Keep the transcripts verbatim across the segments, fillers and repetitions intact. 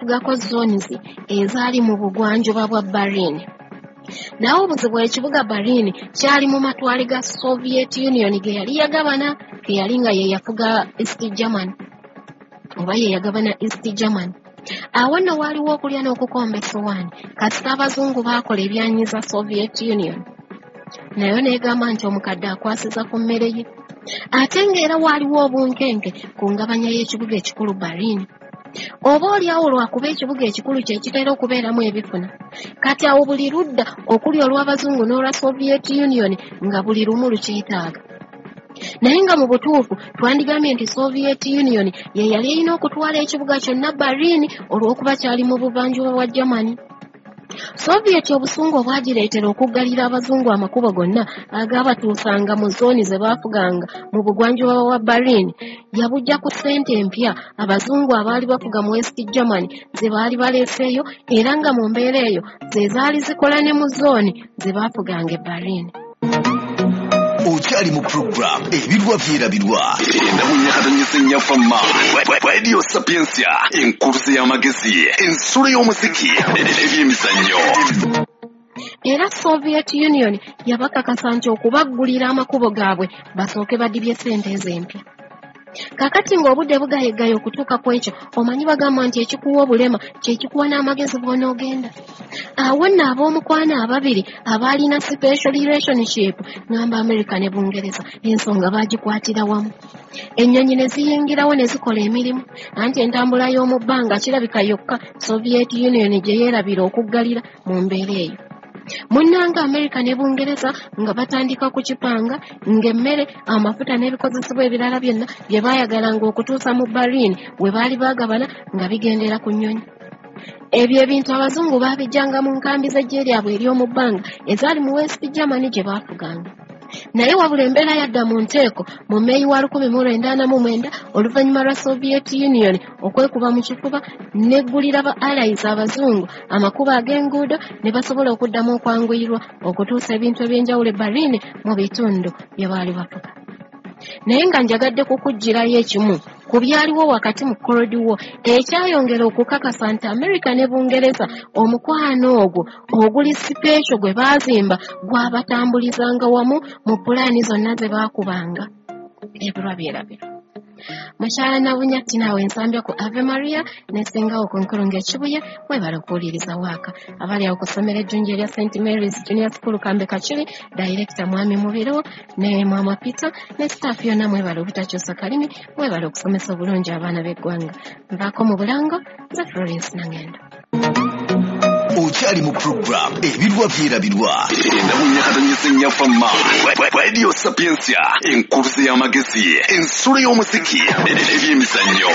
okwefugako zones ezaali mu bugwanjuba bwa Berlin. Naye obuzibu, ekibuga Berlin kyali mu matwale ga Soviet Union ge yali yagabana, ge yali nga ye yafuga East Germany oba ye yagabana East Germany. Awo nno waaliwo okulya n'okukomba essowaani, kasita abazungu baakola ebyanyiza Soviet Union, nayo neegamba nti omukadde akwasiza ku mmere ye. Ate ng'era waaliwo obunkenke ku ngabanya y'ekibuga ekikulu Berlin, oba oliawo lwakuba ekibuga ekikulu kye kitera okubeeramu ebifuna. Kati awo buli ludda okuli olw'abazungu n'olwa Soviet Union nga buli lumu lukyetaaga, naye nga mu butuufu twandigambye nti Soviet Union ye yali erina okutwala ekibuga kyonna Berlin olw'okuba kyali mu buvanjuba bwa Germany. Soviet obusungu obwagireetera okuggalira abazungu amakubo gonna agaabatuusanga mu zooni ze baafuganga mu bugwanjuba bwa Berlin yabujja ku ssente empya abazungu abaali bafuga mu West Germany ze baali baleeseeyo, era nga mu mbeera eyo ze zaali zikola ne mu zooni ze baafuganga e Berlin. Okyali mu program Ebirwa Byerabirwa, endamunyakatanyisa ennyafama Radio Sapiensia, enkuluze y'amagezi, ensulo y'omuziki, ebyemizannyo. Era Soviet Union yabakakasa nti okubaggulira amakubo gaabwe basooke badibye ssente ezo empya. Kakati ng'obudde bugayeggayo okutuuka ku ekyo, omanyi bagamba nti ekikuwa obulema kyekikuwa n'amagezi bw'onoogenda. Awo nno ab'omukwano ababiri abaalina special relationship, ngamba America ne Bungereza, ensonga baagikwatira wamu, ennyonyi ne ziyingirawo ne zikola emirimu. Anti entambula y'omu bbanga kirabika yokka Soviet Union gye yeerabira okuggalira mu mbeera eyo. Munnanga Amerika ne Bungereza nga batandika kukipanga ng'emmere, amafuta n'ebikozesebwa ebirala byonna bye baayagalanga okutuusa mu Berlin we baali baagabana nga bigendera ku nnyonyi. Ebyo ebintu abazungu baabijjanga mu nkambi z'eggye lyabwe ery'omu bbanga ezaali mu West Germany gye baafuganga. Naye wabula embeera yadda mu nteeko mu Meeyi wa lukumi mu lwenda ana mu mwenda oluvannyuma lwa Soviet Union okwekuba mu kifuba n'eggulira ba allies abazungu amakubo ag'enguudo ne basobola okuddamu okwanguyirwa okutuusa ebintu eby'enjawulo e Berlin mu bitundu bye baali bafuga. Naye nga njagadde kukuggyirayo ekimu ku byaliwo wakati mu Cold War ekyayongera okukakasa nti America ne Bungereza omukwano ogwo oguli special gwe baazimba gwabatambulizanga wamu mu pulaani zonna ze baakubanga. Ebirwa byerabirwa. Mukyala Nabunya Tina ensambya ku Ave Maria nesingawo ku nkulungo ekibuye, mwebale okuwuliriza waaka. Abali awo ku ssomero ejjungi erya Saint Mary's Junior School Kambe Kakiri, Director Mwami Mubiru ne Mwama Peter ne staff yonna, mwebale obutakyusa kalimi, mwebale okusomesa obulungi abaana b'eggwanga. Nvaako mu bulango, nze Florence Nangendo. Okyali mu program Ebirwa Byerabirwa, endamunyakatanyisa ennyafama Radio Sapiensia, enkuluze y'amagezi, ensulo y'omuziki, ebyemizannyo.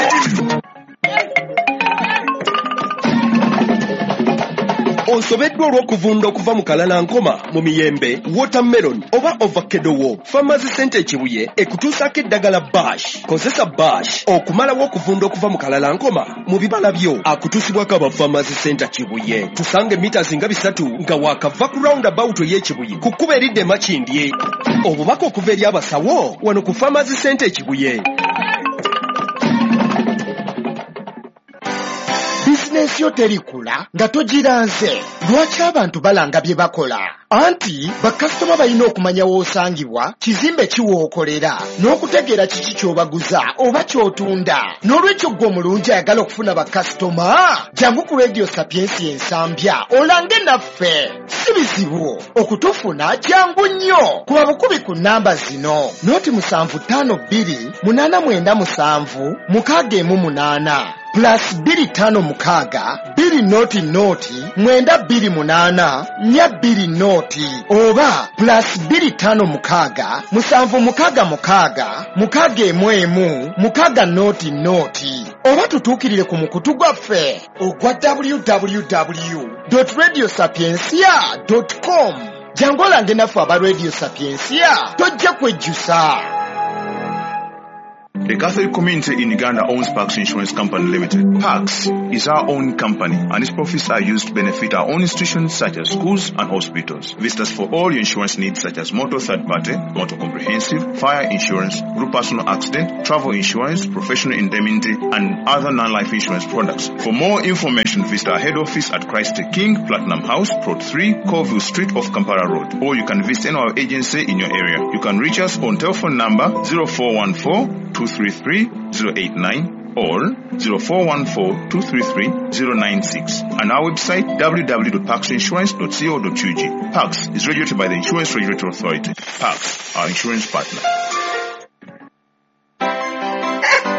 Osobeddwa olw'okuvunda okuva mu kalalankoma, mu miyembe, watermelon oba avocado wo, Farmers Center Ekibuye ekutuusaako eddagala Bash. Kozesa Bash okumalawo okuvunda okuva mu kalalankoma mu bibala byo. Akutuusibwako aba Farmers Center Kibuye. Tusange mita nga bisatu nga waakava ku roundabout ey'Ekibuye ku kkubo eridda e Makindye. Obubaka okuva eri abasawo wano ku Farmers Center Ekibuye. Bizinensi yo terikula nga togiranze. Lwaki abantu balanga bye bakola? Anti bakasitoma balina okumanya w'osangibwa, kizimbe ki w'okolera, n'okutegeera kiki ky'obaguza oba ky'otunda. N'olwekyo ggwe omulungi ayagala okufuna bakasitoma, jangu ku Radio Sapiensia Ensambya olange naffe. Si bizibu okutufuna, jangu nnyo. Kuba bukubi ku nnamba zino: noti musanvu ttaano bbiri munaana mwenda musanvu mukaaga emu munaana, plus bbiri ttaano mukaaga bbiri noti noti mwenda bbiri munaana nnya bbiri noti, oba plus bbiri ttaano mukaaga musanvu mukaaga mukaaga mukaaga emu emu mukaaga noti noti, oba tutuukirire ku mukutu gwaffe ogwa w w w radio sapiensia com. Jangu olange naffe aba Radio Sapiensia, tojja kwejjusa. The Catholic community in Uganda owns Pax Insurance Company Limited. Pax is our own company and its profits are used to benefit our own institutions such as schools and hospitals. Visit us for all your insurance needs such as motor third party, motor comprehensive, fire insurance, group personal accident, travel insurance, professional indemnity and other non-life insurance products. For more information, visit our head office at Christ the King, Platinum House, Plot three, Colville Street off Kampala Road, or you can visit any of our agency in your area. You can reach us on telephone number zero four one four, two three three, zero eight nine or zero four one four, two three three, zero nine six and our website w w w dot pax insurance dot co dot u g. Pax is regulated by the Insurance Regulatory Authority. Pax, our insurance partner.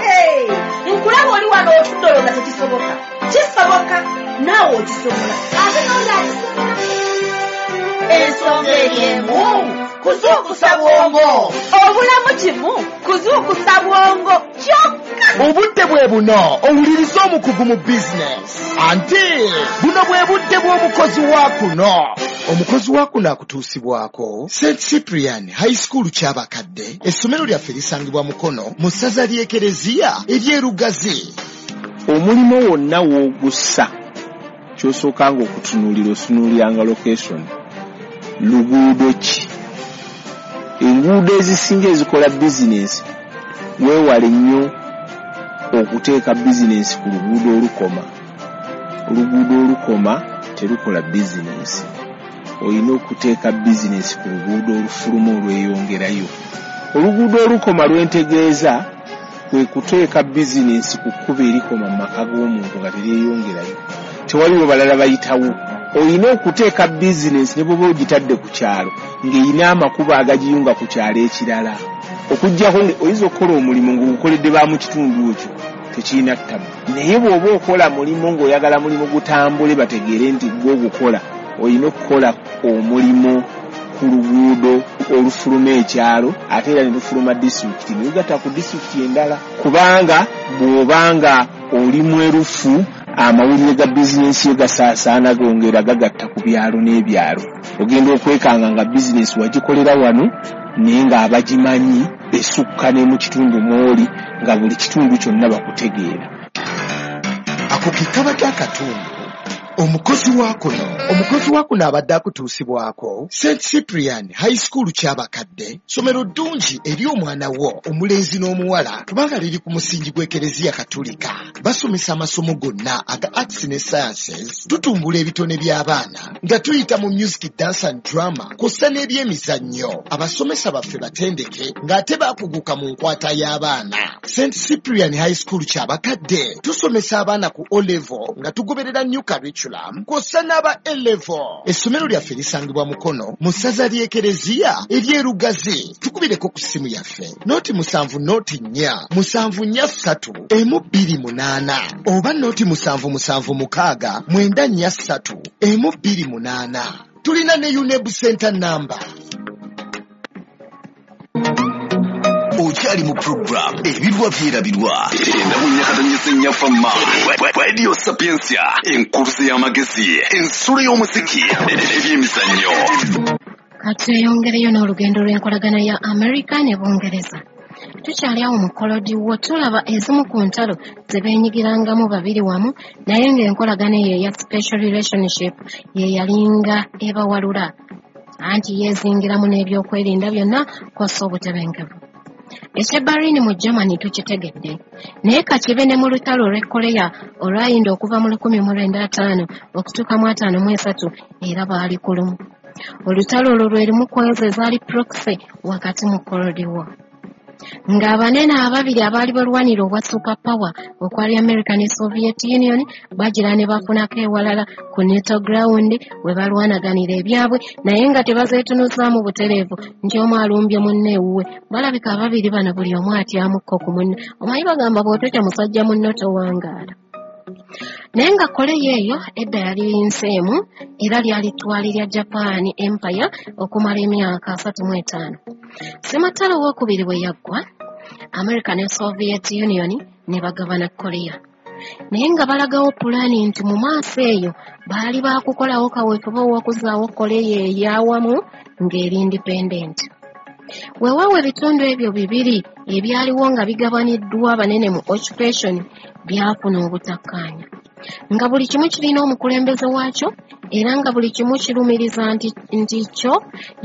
Hey! Nkulaba oli wano otudde olowooza tekisoboka. Kisoboka, naawe okisobola. Ate n'oli akisobola. Ensonga eri emu, kuzuukusa bwongo. Obulamu kimu, kuzuukusa bwongo kyokka. Obudde bwe buno owuliriza omukugu mu bizinesi. Anti buno bwe budde bw'omukozi wa kuno. Omukozi wa kuno akutuusibwako Saint Cyprian High School Kyabakadde. Essomero lyaffe lisangibwa Mukono mu ssaza ly'Ekereziya ery'e Lugazi. Omulimu wonna w'ogussa ky'osookanga okutunuulira otunuuliranga location. Luguudo ki? Enguudo ezisinga ezikola bizinensi weewale nnyo okuteeka bizinensi ku luguudo olukoma. Oluguudo olukoma terukola bizinensi. Olina okuteeka bizinensi ku luguudo olufuluma olweyongerayo. Oluguudo olukoma lwentegeeza kwe kuteeka bizinensi ku kkubo erikoma mu maka g'omuntu nga teryeyongerayo. Tewaliwo balala bayitawo. Olina okuteeka bizinensi ne bw'oba ogitadde ku kyalo ng'erina amakubo agagiyunga ku kyalo ekirala. Okuggyako oyinza okukola omulimu ng'ogukoledde ba mu kitundu ekyo tekirina ttabu. Naye bw'oba okola mulimu ng'oyagala mulimu gutambule bategeere nti gwe ogukola, olina okukola omulimu ku luguudo olufuluma ekyalo ate era ne lufuluma disitulikiti ne lugatta ku disitulikiti endala. Kubanga bw'obanga oli mwerufu amawulire ga bizinensi yo gasaasaana gongera gagatta ku byalo n'ebyalo. Ogenda okwekanga nga bizinensi wagikolera wano naye ng'abagimanyi esukka ne mu kitundu mw'oli nga buli kitundu kyonna bakutegeera. Ako ke kabadde akatundu. Omukozi wa kuno. Omukozi wa kuno abadde akutuusibwako Saint Cyprian High School Kyabakadde, ssomero ddungi eri omwana wo omulenzi n'omuwala kubanga liri ku musingi gw'Ekereziya Katolika. Basomesa amasomo gonna aga arts ne sciences, tutumbula ebitone by'abaana nga tuyita mu music, dance and drama kw'ossa n'ebyemizannyo. Abasomesa baffe batendeke ng'ate baakuguka mu nkwata y'abaana. Saint Cyprian High School Kyabakadde tusomesa abaana ku O level nga tugoberera new curriculum kw'ossa n'aba A level. Essomero lyaffe lisangibwa Mukono mu ssaza ly'Ekereziya ery'e Lugazi. Tukubireko ku ssimu yaffe noti musanvu noti nnya musanvu nnya ssatu emu bbiri munaana oba noti musanvu musanvu mukaaga mwenda nnya ssatu emu bbiri munaana. Tulina ne UNEB Center number. Okyali mu program ebirwa byerabirwa endabunyakatanyisa ennyafamma Radio Sapientia, enkuluze y'amagezi, ensulo y'omuziki ebyemizannyo. Katweyongereyo n'olugendo lw'enkolagana ya Amerika ne Bungereza. Tukyali awo mu Cold War tulaba ezimu ku ntalo ze beenyigirangamu babiri wamu, naye ng'enkolagana eyo eya special relationship ye yalinga ebawalula. Anti yeezingiramu n'ebyokwerinda byonna kw'ossa obutebenkevu. Eky'e Berlin mu Germany tukitegedde, naye kakibe ne mu lutalo olw'e Korea olwayinda okuva mu lukumi mu lwenda ataano okutuuka mu ataano mu esatu era baali ku lumu. Olutalo olwo lwe lumu ku ezo ezaali proxy wakati mu Cold War. Ng'abanene ababiri abaali balwanira obwa super power okwali America ne Soviet Union bagira ne bafunako ewalala ku neutral ground we balwanaganira ebyabwe, naye nga tebazeetunuzaamu butereevu nti omu alumbye munne ewuwe. Balabika ababiri bano buli omu atyamukko ku munne. Omanyi bagamba bw'ototya musajja munno towangaala. Naye nga Korea eyo edda yali nsi emu era lyali ttwale lya Japan Empire okumala emyaka asatu mu etaano. Ssematalo owookubiri bwe yaggwa, America ne Soviet Union ne bagabana Korea. Naye nga balagawo pulaani nti mu maaso eyo baali baakukolawo kaweefube ow'okuzzaawo Korea ey'awamu ng'eri independent. Weewaawo ebitundu ebyo bibiri ebyaliwo nga bigabaniddwa abanene mu occupation byafuna obutakkaanya, nga buli kimu kirina omukulembeze waakyo era nga buli kimu kirumiriza nti, nti kyo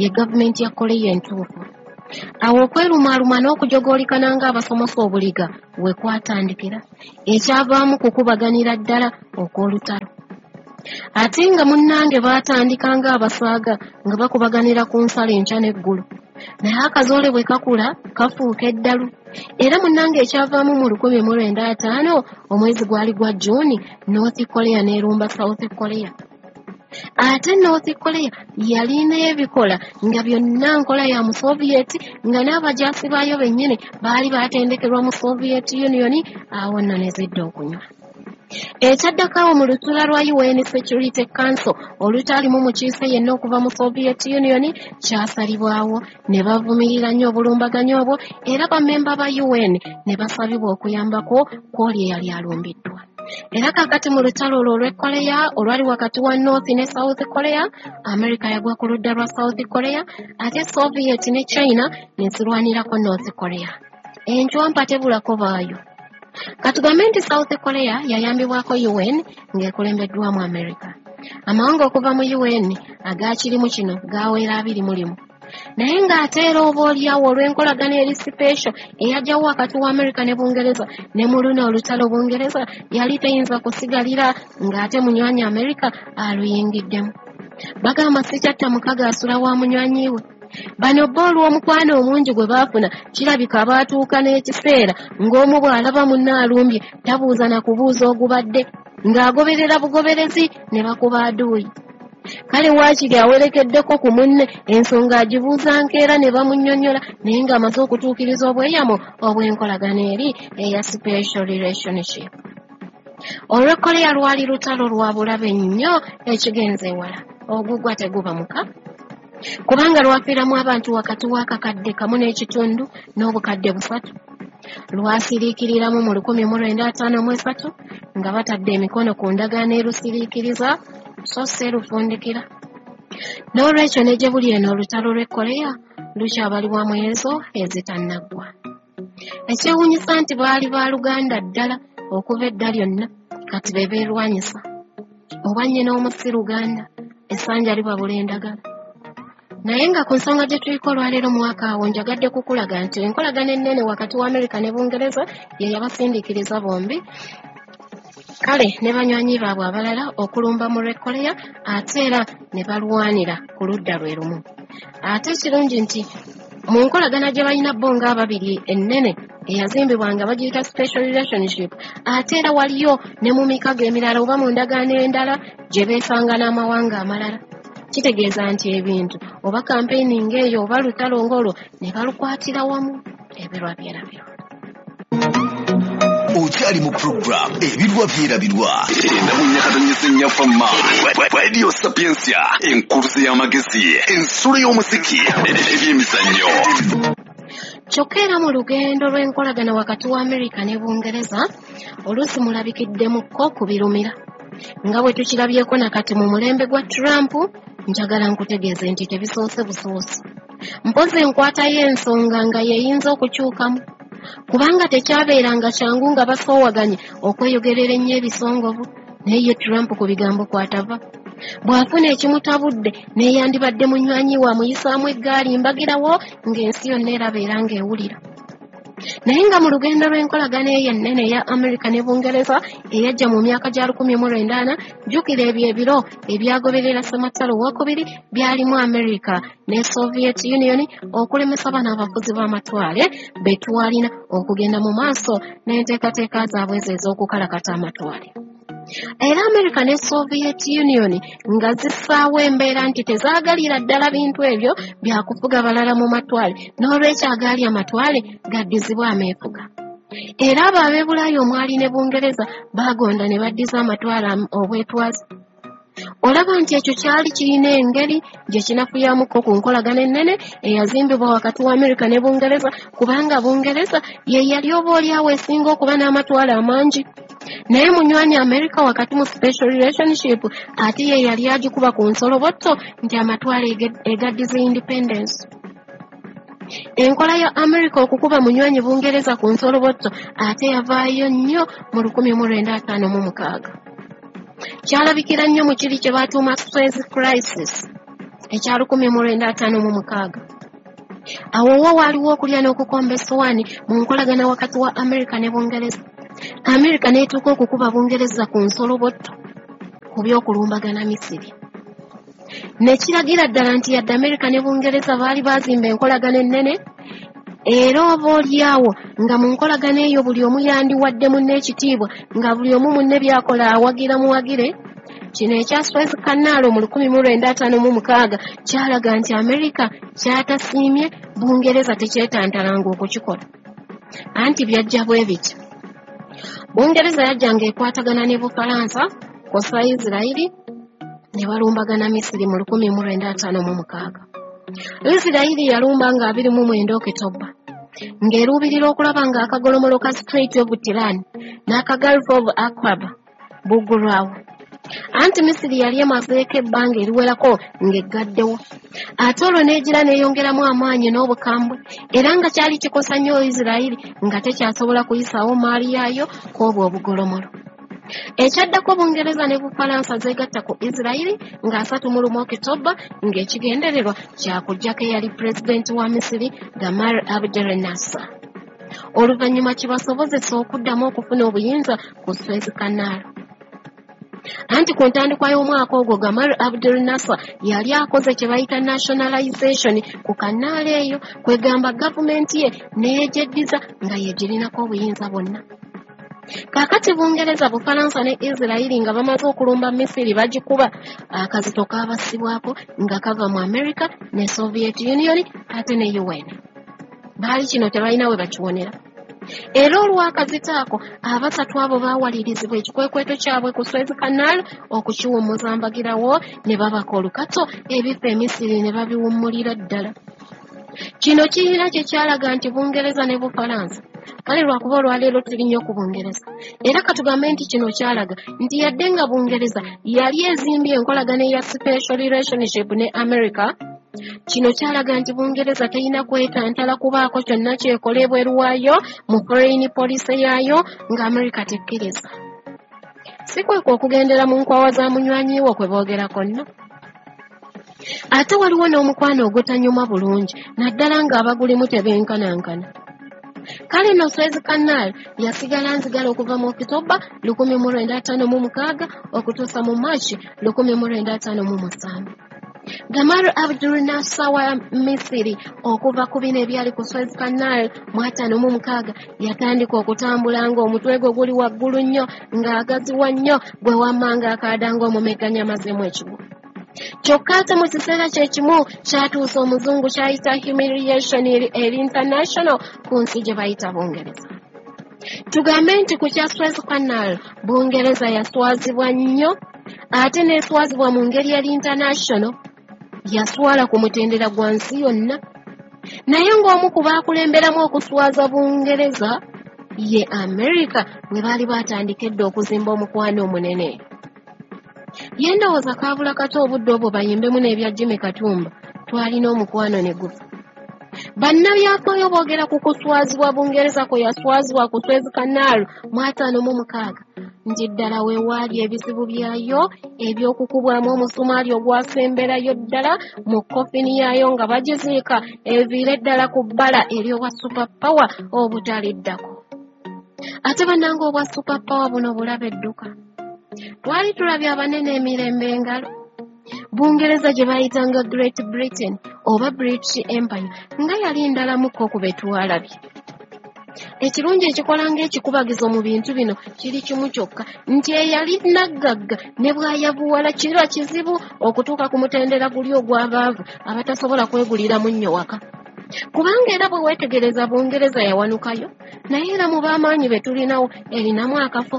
ye gavumenti ya Korea entuufu. Awo okwerumaaluma n'okujogoolikana ng'abasomosa obuliga we kwatandikira, ekyavaamu kukubaganira ddala okw'olutalo. Ate nga munnange baatandika ng'abasaaga nga bakubaganira ku nsalo enkya n'eggulo, naye akazoole bwe kakula kafuuka eddalu. Era munnange ekyavaamu mu lukumi mu lwenda ataano omwezi gwali gwa Juni, North Korea n'erumba South Korea. Ate North Korea yalina ebikola nga byonna nkola ya mu Soviet, nga n'abajaasi baayo bennyini baali baatendekerwa mu Soviet Union. Awo nno ne zidda okunywa. Ekyaddako awo mu lutuula lwa U N Security Council olutaalimu mukiise yenna okuva mu Soviet Union kyasalibwawo ne bavumirira nnyo obulumbaganyi obwo, era bammemba ba U N ne basabibwa okuyambako kw'oli eyali alumbiddwa. Era kaakati mu lutalo olwo olw'e Korea olwali wakati wa North ne South Korea, America yagwa ku ludda lwa South Korea, ate Soviet ne China ne zirwanirako North Korea. Enjwampa tebulako baayo. Katugambe nti South Korea yayambibwako U N ng'ekulembeddwamu America. Amawanga okuva mu U N agakirimu kino gawera abiri mu limu. Naye ng'ate era oba oliawo olw'enkolagana eri special eyajjawo wakati wa America ne Bungereza, ne mu luno olutalo Bungereza yali teyinza kusigalira ng'ate munywanyi America aluyingiddemu. Bagamba si kyatta mukaga asula wa munywanyi we. Bano bo olw'omukwano omungi gwe baafuna kirabika baatuuka n'ekiseera ng'omu bw'alaba munne alumbye tabuuza na kubuuza ogubadde, ng'agoberera bugoberezi ne bakuba aduuyi. Kale waakiri awerekeddeko ku munne ensonga agibuuza nkeera ne bamunnyonnyola, naye ng'amaze okutuukiriza obweyamo obw'enkolagana eri eya special relationship. Olw'e Korea lwali lutalo lwa bulabe nnyo ekigenze ewala, ogugwa teguba muka, kubanga lwafiiramu abantu wakati w'akakadde kamu n'ekitundu n'obukadde busatu. Lwasiriikiriramu mu lukumi mu lwenda ataano mu esatu nga batadde emikono ku ndagaano erusiriikiriza so si erufundikira. N'olwekyo ne gye buli eno olutalo lw'e Korea lukyabalibwa mu ezo ezitannaggwa. Ekyewuunyisa nti baali baaluganda ddala okuva edda lyonna, kati be beerwanyisa. Oba nnyina omu si Luganda, essanja libabula endagala. Naye nga ku nsonga gye tuliko olwaleero mwaka awo njagadde kukulaga nti enkolagana ennene wakati wa Amerika ne Bungereza ye yabasindiikiriza bombi, kale ne banywanyi baabwe abalala okulumba mu lw'e Korea, ate era ne balwanira ku ludda lwe lumu. Ate ekirungi nti mu nkolagana gye balina bo ng'ababiri ennene eyazimbibwa nga bagiyita special relationship, ate era waliyo ne mu mikago emirala oba mu ndagaano endala gye beesanga n'amawanga amalala. Kitegeeza nti ebintu oba kampeyini ng'eyo oba lutalo ng'olwo ne balukwatira wamu, ebirwa byerabirwa. Okyali mu program Ebirwa Byerabirwa endamunyakatonyesa ennyafama Radio Sapientia, enkuluze y'amagezi, ensulo y'omuziki, ebyemizannyo. Kyokka era mu lugendo lw'enkolagana wakati wa Amerika ne Bungereza oluusi mulabikiddemukko ku birumira. Nga bwe tukirabyeko nakati mu mulembe gwa Trump, njagala nkutegeeze nti tebisoose busoosi. Mpozi enkwata y'ensonga nga yeyinza okukyukamu, kubanga tekyabeeranga kyangu nga basoowaganye okweyogerera ennyo ebisongovu, naye ye Trump ku bigambo kw'atava. Bw'afuna ekimutabudde neyandibadde munywanyi we amuyisaamu eggaali mbagirawo ng'ensi yonna eraba era ng'ewulira. Naye nga mu lugendo lw'enkolagana eyo ennene eya Amerika ne Bungereza eyajja mu myaka gya lukumi mu lwenda ana, jjukira ebyo ebiro ebyagoberera Ssematalo owookubiri byalimu Amerika ne Soviet Union okulemesa bano abafuzi b'amatwale be twalina okugenda mu maaso n'enteekateeka zaabwe ezo ez'okukalakata amatwale. Era Amerika ne Soviet Union nga zissaawo embeera nti tezaagalira ddala bintu ebyo byakufuga balala mu matwale, n'olwekyo agaali amatwale gaddizibwa ameefuga. Era abo ab'e Bulaaya omwali ne Bungereza baagonda ne baddiza amatwale obwetwaze. Olaba nti ekyo kyali kirina engeri gye kinafuyamuko ku nkolagana ennene eyazimbibwa wakati wa Amerika ne Bungereza, kubanga Bungereza ye yali oba oliawo esinga okuba n'amatwale amangi. Naye munywanyi Amerika wakati mu special relationship ate ye yali agikuba ku nsolobotto nti amatwale egaddiza independence. Enkola ya Amerika okukuba munywanyi Bungereza ku nsolobotto ate yavaayo nnyo mu lukumi mu lwenda ataano mu mukaaga. Kyalabikira nnyo mu kiri kye batuuma Suez Crisis ekya lukumi mu lwenda ataano mu mukaaga. Awo wo waaliwo okulya n'okukomba essowaani mu nkolagana wakati wa Amerika ne Bungereza. Amerika n'etuuka okukuba Bungereza ku nsolobotto ku by'okulumbagana Misiri. Ne kiragira ddala nti yadde Amerika ne Bungereza baali baazimba enkolagana ennene, era oba oliawo nga mu nkolagana eyo buli omu yandiwadde munne ekitiibwa, nga buli omu munne by'akola awagira muwagire. Kino ekya Suez Canal mu lukumi mu lwenda ataano mu mukaaga kyalaga nti Amerika kyatasiimye Bungereza tekyetantalanga okukikola. Anti byajja bwe bityo. Bungereza yajjanga ekwatagana ne Bufalansa kw'ossa Isirayiri ne balumbagana Misiri mu lukumi mu lwenda ataano mu mukaaga. Isirayiri yalumba nga abiri mu mwenda Okitoba, ng'eruubirira okulaba ng'akagolomolo ka Strait of Tiran n'aka Gulf of Aqaba buggulwawo. Anti Misiri yali emazeeko ebbanga eriwerako ng'eggaddewo, ate olwo n'egira n'eyongeramu amaanyi n'obukambwe, era nga kyali kikosa nnyo Isirayiri nga tekyasobola kuyisaawo maali yaayo kw'obwo obugolomolo. Ekyaddako Bungereza ne Bufalansa zeegatta ku Isirayiri nga asatu mu lumu Okitoba ng'ekigendererwa kya kuggyako eyali pulezidenti wa Misiri Gamal Abdel Nasser. Oluvannyuma kibasobozesa okuddamu okufuna obuyinza ku Suez Canal. Anti ku ntandikwa y'omwaka ogwo Gamal Abdel Nasser yali akoze kye bayita nationalization ku kanaala eyo, kwegamba gavumenti ye n'eyegyeddiza nga yegirinako obuyinza bwonna. Kaakati Bungereza, Bufalansa ne Isirayiri nga bamaze okulumba Misiri bagikuba, akazito kaabasibwako nga kava mu Amerika ne Soviet Union ate ne U N. Baali kino tebalina we bakiwonera. Era olw'akazito ako abasatu abo baawalirizibwa ekikwekweto kyabwe ku Suez Canal okukiwummuza mbagirawo ne babaka olukato ebifo e Misiri ne babiwummulira ddala. Kino kirina kye kyalaga nti Bungereza ne Bufalansa, kale lwakuba olwaleero tuli nnyo ku Bungereza, era katugambe nti kino kyalaga nti yadde nga Bungereza yali ezimbye enkolagana eya special relationship ne America, kino kyalaga nti Bungereza terina kwetantala kubaako kyonna kyekola ebweru waayo mu foreign policy yaayo nga America tekkiriza. Si kwekwo okugendera mu nkwawa za munywanyi wo kwe boogerako nno. Ate waliwo n'omukwano ogutanyuma bulungi naddala ng'abagulimu tebenkanankana. Kale nno Suez Canal yasigala nzigala okuva mu Okitoba lukumi mu lwenda ataano mu mukaaga okutuusa mu Maaci lukumi mu lwenda ataano mu musanvu. Gamal Abdel Nasser wa Misiri okuva ku bino ebyali ku Suez Canal mu ataano mu mukaaga yatandika okutambula ng'omutwe gwe guli waggulu nnyo ng'agaziwa nnyo gwe wamma ng'akaada ng'omumegganyi amazeemu ekigwo. Kyokka ate mu kiseera kye kimu kyatuusa omuzungu ky'ayita humiliation eri international ku nsi gye bayita Bungereza. Tugambe nti ku kya Suez Canal Bungereza yaswazibwa nnyo ate n'eswazibwa mu ngeri eri international, yaswala ku mutendera gwa nsi yonna. Naye ng'omu ku baakulemberamu okuswaza Bungereza ye Amerika bwe baali batandika edda okuzimba omukwano omunene. Ye ndowooza kaabula kato obudde obwo bayimbemu n'ebya Jimmy Katumba, twalina omukwano ne gufa. Bannabyafaayo boogera ku kuswazibwa Bungereza kwe yaswazibwa ku Suez Canal mu ataano mu mukaaga nti ddala we waali ebizibu byayo eby'okukubwamu omusumaali ogwasemberayo ddala mu kofini yaayo nga bagiziika eviire ddala ku bbala ery'obwa super power obutaliddako. Ate bannange obwa super power buno bulabe edduka. Twali tulabye abanene emirembe engalo. Bungereza gye bayitanga Great Britain oba British Empire nga yali ndalamuko ku be twalabye. Ekirungi ekikola ng'ekikubagizo mu bintu bino kiri kimu kyokka nti eyali naggagga ne bw'ayavuwala kiba kizibu okutuuka ku mutendera guli ogw'abaavu abatasobola kwegulira munnyo waka. Kubanga era bwe weetegereza Bungereza yawanukayo, naye era mu b'amaanyi be tulinawo erinamu akafo.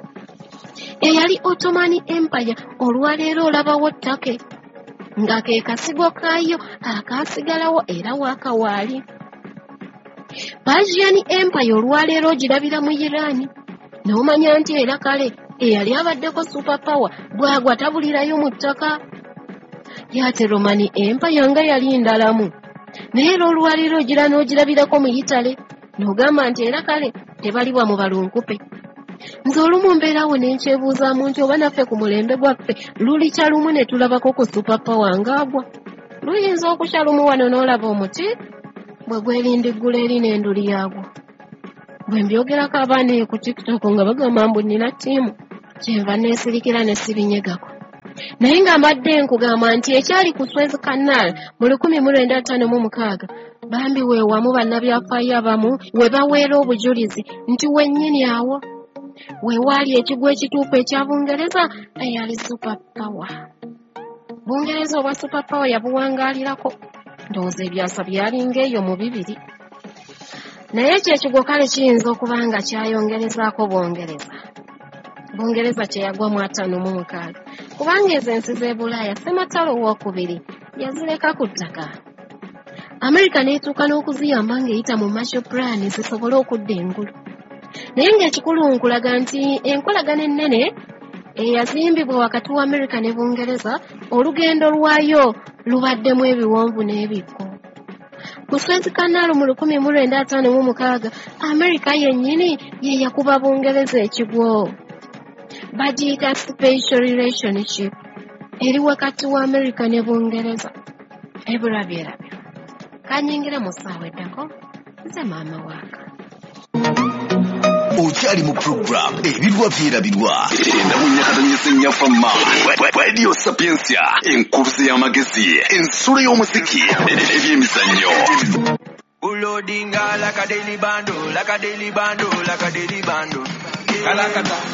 Eyali Ottoman Empire olwaleero olabawo Turkey nga ke kasigo kaayo akaasigalawo era waakawaali. Persian Empire olwaleero ogirabira mu Iran n'omanya nti era kale eyali abaddeko super power bw'agwa tabulirayo mu ttaka. Yate Roman Empire nga yali ndalamu. Naye era olwaleero ogira n'ogirabirako mu Italy n'ogamba nti era kale tebalibwa mu balunkupe. Nze olumu mbeerawo ne nkyebuuzaamu nti oba naffe ku mulembe gwaffe lulikya lumu ne tulabako ku super power ng'agwa. Luyinza okukya lumu wano n'olaba omuti bwe gwerindiggula eri n'enduli yaagwo. Bwe mbyogerako abaana eyo ku TikTok nga bagamba mbu nnina ttiimu, kyenva neesirikira ne sibinyegako. Naye nga mbadde nkugamba nti ekyali ku Suez Canal mu lukumi mu lwenda ttaano mu mukaaga, bambi weewamu bannabyafaayo abamu we baweera obujulizi nti wennyini awo we waali ekigwo ekituufu ekya Bungereza eyali super power. Bungereza obwa super power yabuwangaalirako, ndowooza ebyasa byalinga eyo mu bibiri. Naye ekyo ekigwo kale kiyinza okuba nga kyayongerezaako Bungereza. Bungereza kye yagwa mu ataano mu mukaaga, kubanga ezo ensi z'e Bulaaya Ssematalo owookubiri yazireka ku ttaka. Amerika n'etuuka n'okuziyamba ng'eyita mu Marshall Plan zisobole okudda engulu. Naye ng'ekikulu nkulaga nti enkolagana ennene eyazimbibwa wakati wa Amerika ne Bungereza olugendo lwayo lubaddemu ebiwonvu n'ebikko. Ku Suez Canal mu lukumi mu lwenda ataano mu mukaaga, Amerika yennyini ye yakuba Bungereza ekigwo. Bagiyita special relationship eri wakati wa Amerika ne Bungereza. Ebirwa byerabirwa. Kanyingira mu ssaawa eddako, nze maama waaka. Okyali mu program Ebirwa Byerabirwa endamunyakatonyesa ennyafama Radio Sapientia, enkuluze y'amagezi, ensulo y'omuziki, ebyemizannyo. Ulodinga like a daily bando, like a daily bando, like a daily bando. Kalakata.